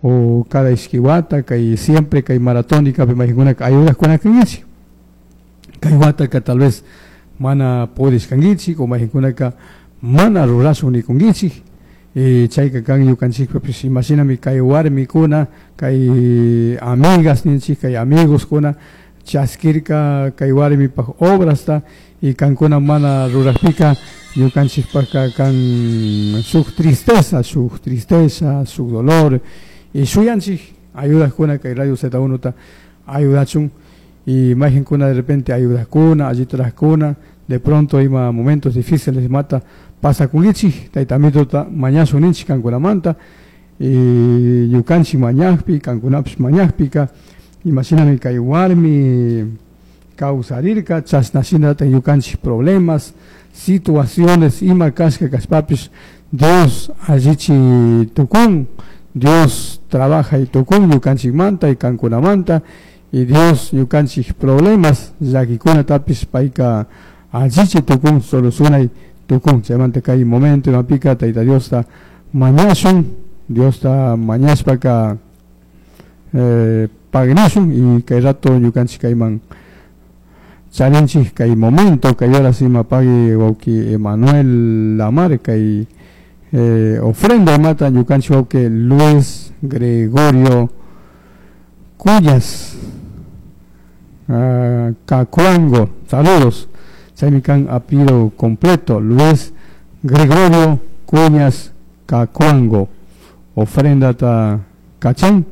O cada ishki wata kay siempre kay maratónicapi mayqinkunaka ayudaqkuna kankichik. Kay wataka tal vez mana pudishkankichik o mayqinkunaka mana rurashun nikunkichik. Y chayka kan ñukanchikpipish imashinami kay warmikuna kay amigas ninchik kay amigoskuna chaskirka kay warmipaj obrasta y kankuna mana rurakpika ñukanchikpaka kan shuk tristeza, shuk tristeza, shuk dolor y shuyanchik ayudakuna kay Radio Z1 ta ayudachun y mayqinkuna de repente ayudakuna, allitarajkuna, de pronto ima momentos difíciles mata pasakunkichik, tayta Amitota mañashun ninchik kankunamanta y ñukanchik mañakpi, kankunapish mañakpika imashinami kay warmi kawsarirka, chashna shinata ñukanchik problemas, situaciones ima kashka kashpapish Dios allichi tukun, Dios trabaja y tukun ñukanchikmanta y kankunamanta y Dios ñukanchik problemas llakikunatapish payka allichi tukun, solucionay tukun. Chaymanta kay momento imapika Tayta Diosta mañashun, Diosta mañashpaka pagnashun y kay rato ñukanchik kayman charinchik kay momento kay horas ima pagui wawki Emanuel Lamar kay ofrenda imata ñukanchik wawki Luis Gregorio Cuyas Cacuango, saludos. Chaymi kan apellido completo, Luis Gregorio Cuñas Cacuango. Ofrenda ta kachan,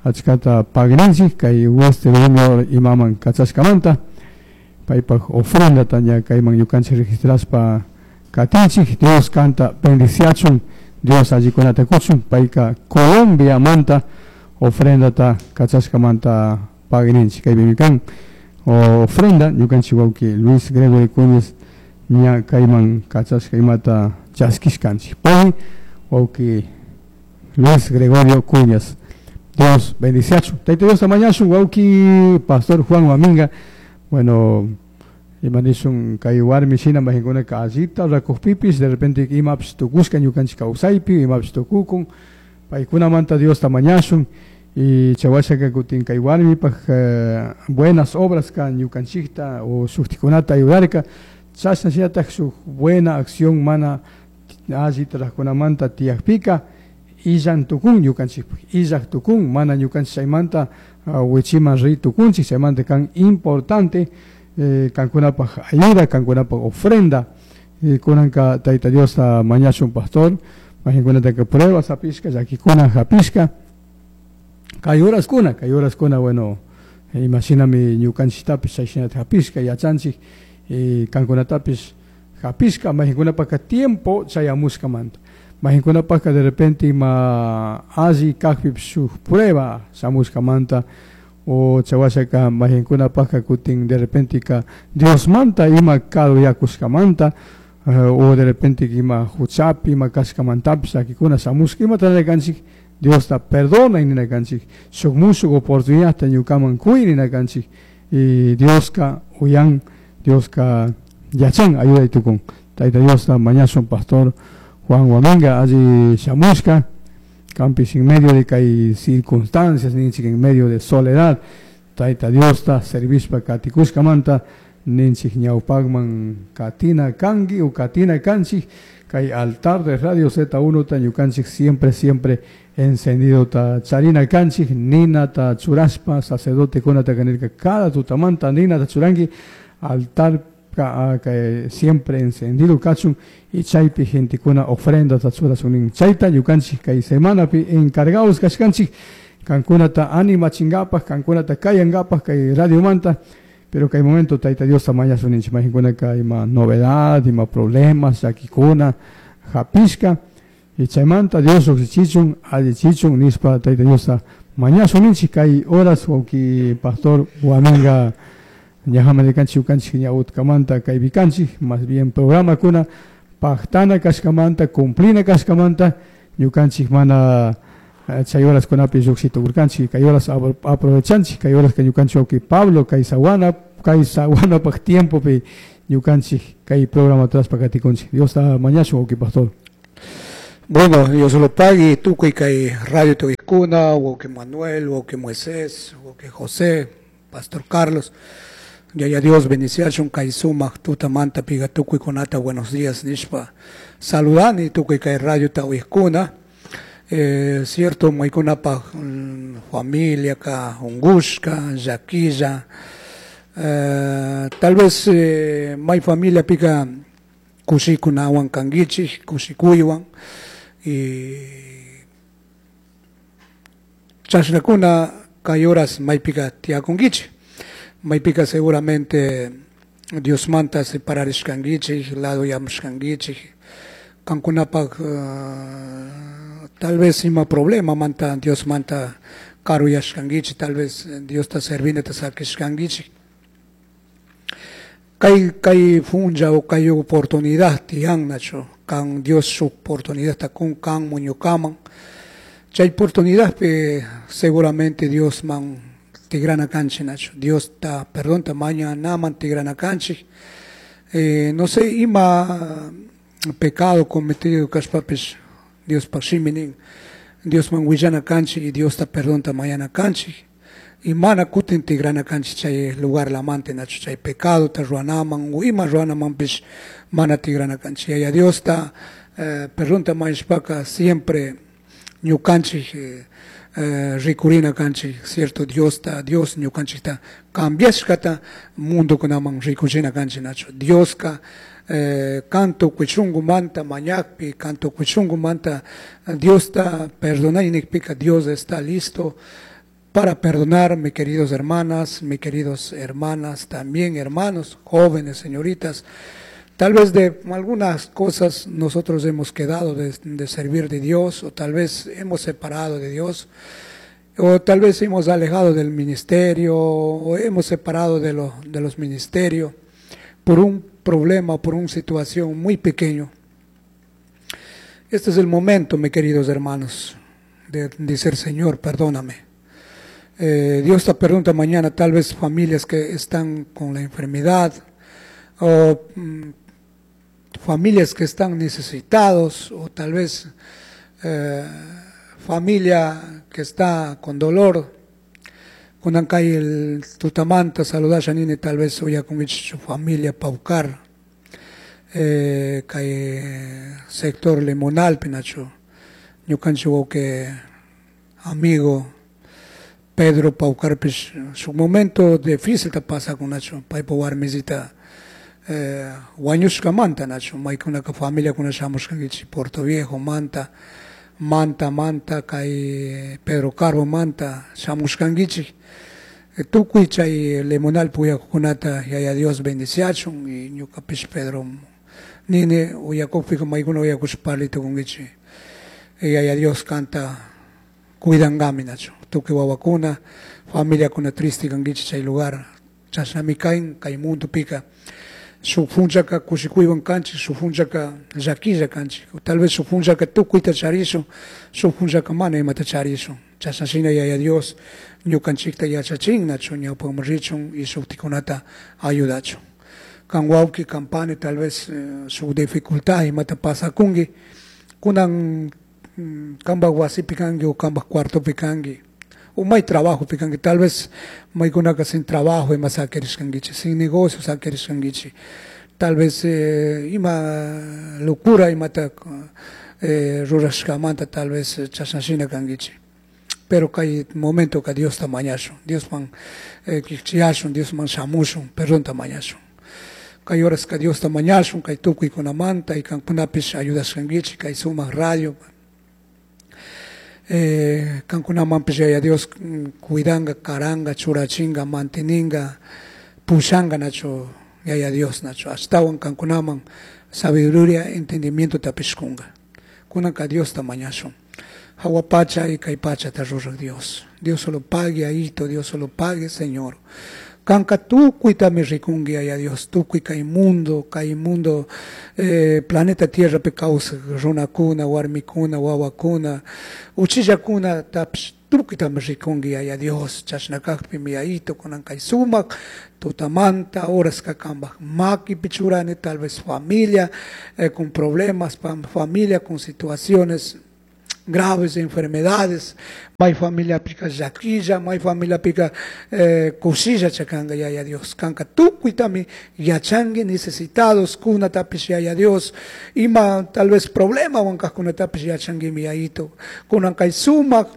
achkata pagninchik kay Western Union imaman kachashkamanta. Paypaj ofrenda ta ña kayman ñukanchik registraspa katinchik. Dios kanta bendiciachun, Dios allikunata kuchun, payka Colombia manta ofrenda ta kachashkamanta pagninchik. Kaypimi kan ofrenda ñukanchik wawki Luis Gregorio Cuñez ña kayman kachashka imata chaskishkanchik. Pay wawki Luis Gregorio Cuñas. Dios bendiciachun. Tayta Diosta mañashun wawki Pastor Juan Guaminga. Bueno, imanishun kay warmi shina mayqinkunaka allita rakujpipis de repente imapish tukushka ñukanchik kawsaypi imapish tukukun paykunamanta Diosta mañashun y chawashaka kutin kay warmipaj buenas obras ka ñukanchikta o shuktikunata ayudarka chashna shinataj shuk buena acción mana allita rajkunamanta tiyakpika illan tukun ñukanchikpaj illaj tukun mana ñukanchik chaymanta wichiman ri tukunchik chaymanta kan importante kankunapaj ayuda, kankunapaj ofrenda kunanka Tayta Diosta mañashun pastor mayqinkunataka pruebas hapishka llakikuna hapishka kay horaskuna bueno imashinami ñukanchiktapish chayshinata hapishka yachanchik kankunatapish hapishka mayqinkunapaka tiempo chayamushkamanta mayqinkunapaka de repente ima alli kajpipish shuk prueba shamushkamanta o chawashaka mayqinkunapaka kutin de repente ka Diosmanta ima karuyakushkamanta o de repente ima huchapi ima kashkamantapish llakikuna shamushka imata nina kanchik Diosta perdona nina kanchik shuk mushuk oportunidadta ñukaman kuy nina kanchik y Dioska uyan Dioska yachan ayuday tukun. Tayta Diosta mañashun pastor Juan Guaminga alli shamushka kanpish en medio de kay circunstancias ninchik en medio de soledad Tayta Diosta servishpa katikushkamanta ninchik ñawpakman katina kanki o katina kanchik kay altar de Radio Z1 ta ñukanchik siempre siempre encendido ta charina kanchik nina ta churashpa sacerdote kunata kanirka cada tutamanta nina ta churanki altar ka siempre encendido kachun y chaypi gentekuna ofrenda ta churashun nin chayta ñukanchik kay semanapi encargados kashkanchik kankunata animachinkapaj kankunata kayankapaj kay radiomanta pero kay momento Tayta Diosta mañashun ninchik mayqinkunaka ima novedad ima problemas llakikuna hapishka y chaymanta Dios riqsichichun allichichun nispa Tayta Diosta mañashun ninchik kay horas wawki pastor Guaminga ñajaman rikanchik ñukanchik ña utkamanta kaypi kanchik más bien programakuna pajtana kashkamanta cumplina kashkamanta ñukanchik mana chay horaskunapi lluqshitukurkanchik kay horas aprovechanchik kay horas ñukanchik wawki Pablo kay sawanapaj tiempopi ñukanchik kay programa traspa katikunchik. Diosta mañashun wawki pastor. Bueno, Dios lo pague, tukuy kay radio tukuykuna, wawqi Manuel, wawqi Moisés, wawqi José, Pastor Carlos. Yaya Dios bendiciachun kay sumaq tutamanta piga tukuykunata buenos días nishpa saludani tukuy kay radio tawikkuna. Cierto, maykunapaj familia ka ungushka, llaquilla. Tal vez may familia pika kushikunawan kankichik, kushikuywan. Y chashnakuna kay horas maypika tiyakunkichik. Maypika seguramente Diosmanta separarishkankichik, ladoyamushkankichik. Kankunapaj tal vez ima problema manta Diosmanta karuyashkankichik, tal vez Diosta servinata sakishkankichik. Kay kay funcha o kay oportunidad tiyan nachu, kan Dios su oportunidad ta kun kan muñukaman. Chay oportunidad pe seguramente Dios man tigrana kanchik nachu. Dios ta perdón ta mañana tigrana kanchik. No sé, ima pecado cometido kashpapis Dios pashiminin. Dios man willana kanchik y Dios ta perdón ta mañana kanchik. Y mana kutin tigrana kanchik chay lugar lamante nachu, chay pecado ta ruanaman o ima ruanaman pis mana tigrana kanchik. Yaya Dios ta perdón ta mañashpaka siempre ñukanchik rikurina kanchik, cierto Dios ta, Dios ñukanchik ta cambiashkata mundo kunaman rikuchina kanchik nachu. Dios ka kanto kuchungu manta mañakpi, kanto kuchungu manta Dios ta perdonay nikpika, Dios está listo para perdonar, mis queridos hermanas, mis queridos hermanas, también hermanos, jóvenes, señoritas. Tal vez de algunas cosas nosotros hemos quedado de servir de Dios, o tal vez hemos separado de Dios, o tal vez hemos alejado del ministerio, o hemos separado de los ministerios por un problema, por una situación muy pequeño. Este es el momento, mis queridos hermanos, de decir, Señor, perdóname. Dios te pregunta mañana, tal vez familias que están con la enfermedad, o familias que están necesitados, o tal vez familia que está con dolor. Kunan kay el tutamanta saludasha nini, tal vez uyakunkichik su familia Paucar, kay sector Limonal pinachu, ñukanchik wawqi amigo Pedro Paucarpis, su momento difícil ta pasa kunachu, paypa warmisita wañushkamanta nachu, maykunaka familia kuna shamushkankichik Puerto Viejo manta, manta manta kay Pedro Carbo manta shamushkankichik. Tukuy chay Limonal puyakukunata Yaya Dios bendiciachun, y ñukapish Pedro nini uyakukpika maykuna uyakush parlatukunkichik. Yaya Dios kanta cuidangami nachu, tukuy wawakuna, familiakuna triste kankichik chay lugar, chashnami kayn kay mundo pika. Shuk punchaka kushikuywan kanchik, shuk punchaka llakilla kanchik, tal vez shuk punchaka tukuyta charishun, shuk punchaka mana imata charishun. Chashnashina Yaya Dios ñukanchikta yachachin nachu, ñawpakman richun y shuktikunata ayudachun. Kan wawqi, kan pani, tal vez shuk dificultad imata pasakunki, kunan kanpak wasipi kanki o kanpak cuartopi kanki, o may trabajo pikanki, tal vez maykunaka sin trabajo ima sakirishkankichik, sin negocio sakirishkankichik, tal vez ima locura imata rurashkamanta tal vez chashnashina kankichik. Pero kay momento ka Diosta mañashun, Diosman kichiyashun, Diosman shamushun, perdonta mañashun. Kay horas ka Diosta mañashun, kay tukuykunamanta y kankunapish ayudashkankichik, kay sumak radio. Kankunamanpish Yaya Dios cuidanga, karanga, churachinga, manteninga, pushanga nachu Yaya Dios nachu. Ashtawan kankunaman sabiduría, entendimiento tapishkunga. Kunanka Diosta mañashun. Hawa pacha y kay pacha ta ruraq Dios. Dios solo pague ahito, Dios solo pague, Señor. Kanka tukuytami rikunki Yaya Dios, tukuy kay mundo, planeta Tierra pe kawsaq runakuna, warmikuna, wawakuna, uchillakuna tapish Tukuytami rikunki Yaya Dios, chashna kakpimi Yayito kunan kay sumak tutamanta horaska kambaj makipi churani, tal vez familia con problemas, familia con situaciones graves, enfermedades, may familia pika llaquilla, may familia pika kushilla chakanga Yaya Dios, kanka tukuytami yachangi necesitados kunatapish Yaya Dios, ima tal vez problema wankajkunatapish yachanguimi Yayito, kunan kay sumak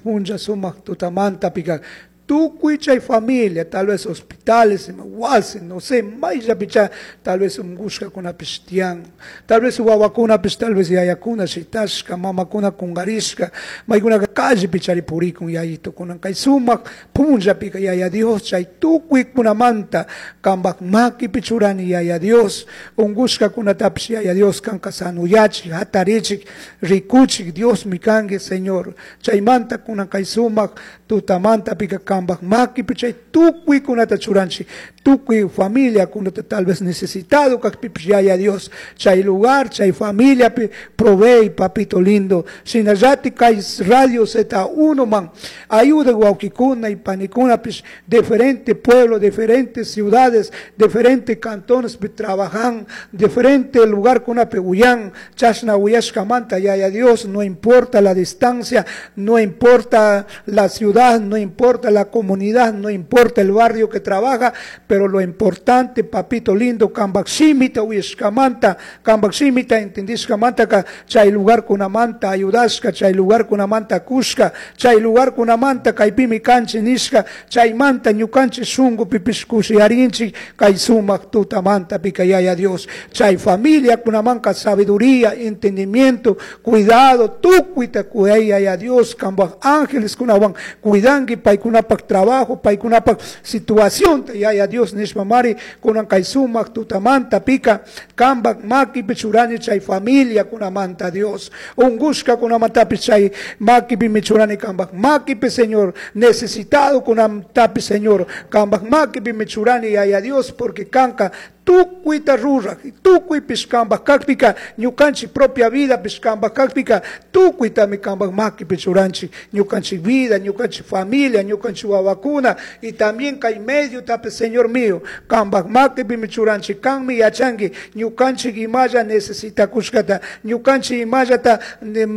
punlla sumak tutamanta pika tukuy chay familia, tal vez hospitales, wasi, no sé, mayllapicha, tal vez ungushkakunapish tiyan, tal vez wawakunapish, tal vez yayakuna shitashka, mamakuna kungarishka, maykunaka callepi chari purikun yayito, kunan kay sumak punllapika Yaya Dios, chay tukuykunamanta kambak makipi churani Yaya Dios, ungushkakunatapish Yaya Dios kanka sanuyachik, hatarichik, rikuchik, Dios mi kanki Señor, chaymanta kunan kay sumak tutamanta pika kambak makipi chay tukuykunata churanchik, tukuy familia kunata tal vez necesitado kakpipish Yaya Dios, chay lugar, chay familiapi provee, papito lindo, shinallati kay radio Z1 man, ayuda wawkikuna y panikunapish, diferente pueblo, diferentes ciudades, diferentes cantones pi trabajan, diferente lugar kunapi uyan, chashna uyashkamanta Yaya Dios, no importa la distancia, no importa la ciudad, no importa la comunidad, no importa el barrio que trabaja, pero lo importante, papito lindo, kambak shimita uyashkamanta, kambak shimita entendishkamanta ka chay lugar kunamanta ayudashka, chay lugar kunamanta kushka, chay lugar kunamanta kaypimi kanchi nishka, chaymanta ñukanchik shunku pipish kushiyarinchik, kay sumak tutamanta pika Yaya Dios, chay familia kunamanka sabiduría, entendimiento, cuidado, tukuyta kuyay Yaya Dios, kambak ángeles kunawan cuidanki paykunapak trabajo, paykunapak situación, Yaya Dios nishpamari kunan kay sumak tutamanta pika kambak makipi churani chay familia kunamanta Dios, ungushka kunamantapish chay makipi michurani kambak makipi Señor, necesitado kunamtapish Señor, kambak makipi michurani Yaya Dios, porque kanka tukuyta ruraj, tukuypish kambak kakpika, ñukanchik propia vida pish kambak kakpika, tukuytami kambak makipi churanchik, ñukanchik vida, ñukanchik familia, ñukanchik wawakuna, y también kay medio tapish Señor mío, kambak makipi michuranchik, kanmi yachanki, ñukanchik imalla necesitakushkata, ñukanchik imallata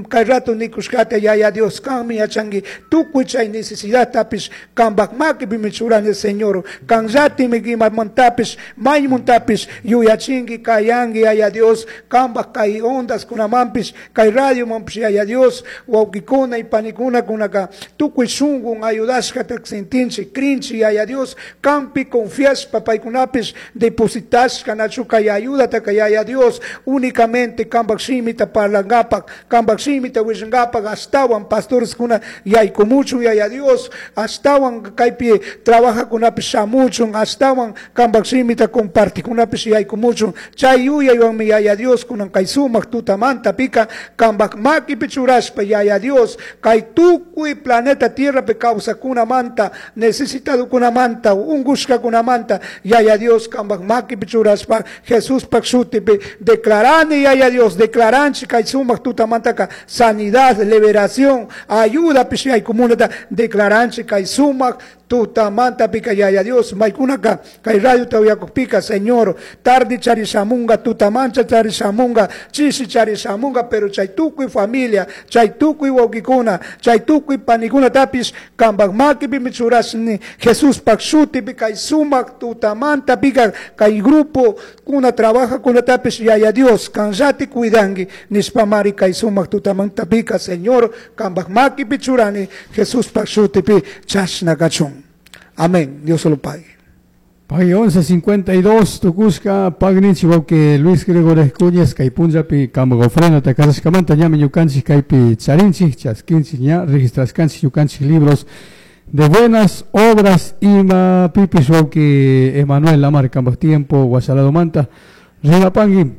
kay rato nikushkata, Yaya Dios, kanmi yachanki, tukuy chay necesidad tapish kambak makipi michurani Señor, kanllatimi imamantapish, maymuntapish, yuyachinki, kayanki, Yaya Dios, kambak kay ondas kunamampish, kay radio mampish, Yaya Dios, wawkikuna y panikuna kunaka, tukuy shungun ayudashkata sentinchik, krinchik, Yaya Dios, kampi confiashpa paykunapish depositashka nachu kay ayudata kay Yaya Dios, únicamente kambak shimita parlangapak, kambak shimita willangapak, ashtawan pastores kuna yaykumuchun, Yaya Dios, ashtawan kaypi trabajakunapish shamuchun, ashtawan kambak shimita compartikunapish yaykumuchun, chay yuyaywanmi Yaya Dios kunan kay sumak tutamanta pika kambak makipi churashpa Yaya Dios, kay tukuy planeta Tierrapi kawsakunamanta, necesitadokunamanta, ungushkakunamanta, Yaya Dios kambak makipi churashpa Jesuspak shutipi declarani Yaya Dios, declaranchik kay sumak tutamantaka sanidad, liberación, ayuda pish yaykumunata, declaranchik kay sumak tutamanta pika Yaya Dios, maykunaka kay radio tawiyakukpika Señor, tarde charishamunga, tutamancha charishamunga, chishi charishamunga, pero chay tukuy familia, chay tukuy wawkikuna, chay tukuy panikuna tapish kambak makipi michurashni Jesuspak shutipi kay sumak tutamanta pika kay grupo kuna trabaja kuna tapish Yaya Dios, kanllati cuidanki nishpamari kay sumak tutamanta pika Señor, kambak makipi churani Jesuspak shutipi chashna kachun. Amén. Dios lo pague. Pagui 11:52, tukushka pagninchik wawki Luis Gregorio Cuñas, kay punllapi kambak ofrenda takarashkamanta ñami ñukanchik kaypi charinchik, chaskinchik ña registrashkanchik ñukanchik libros de buenas obras ima pipish wawki Emanuel Lamar kambak tiempo wasaladomanta rimapangui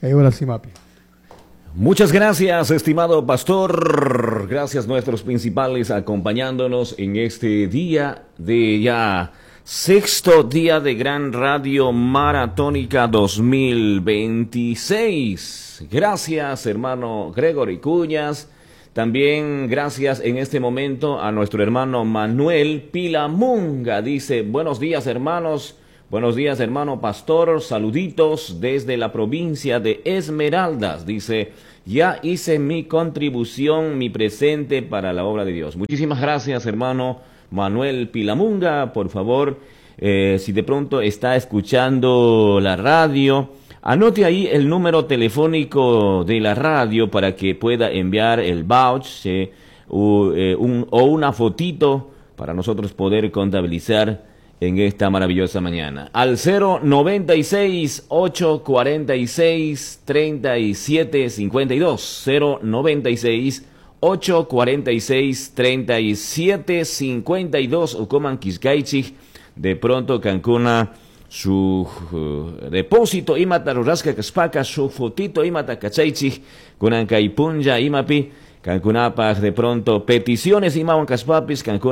kay horas simapi. Muchas gracias, estimado pastor. Gracias nuestros principales acompañándonos en este día de ya sexto día de Gran Radio Maratónica 2026. Gracias, hermano Gregory Cuñas. También gracias en este momento a nuestro hermano Manuel Pilamunga. Dice, buenos días hermanos, buenos días hermano pastor, saluditos desde la provincia de Esmeraldas. Dice, ya hice mi contribución, mi presente para la obra de Dios. Muchísimas gracias hermano Manuel Pilamunga. Por favor, si de pronto está escuchando la radio, anote ahí el número telefónico de la radio para que pueda enviar el vouch o una fotito para nosotros poder contabilizar en esta maravillosa mañana. Al 096 846 37 52 096 846 37 52 Ucoman Quiscaichig de pronto Cancuna su depósito imata rurashka kashpaka su fotito imata kachaychik kunan kay punlla imapi kankunapaj de pronto peticiones imawan kashpapis kankuna.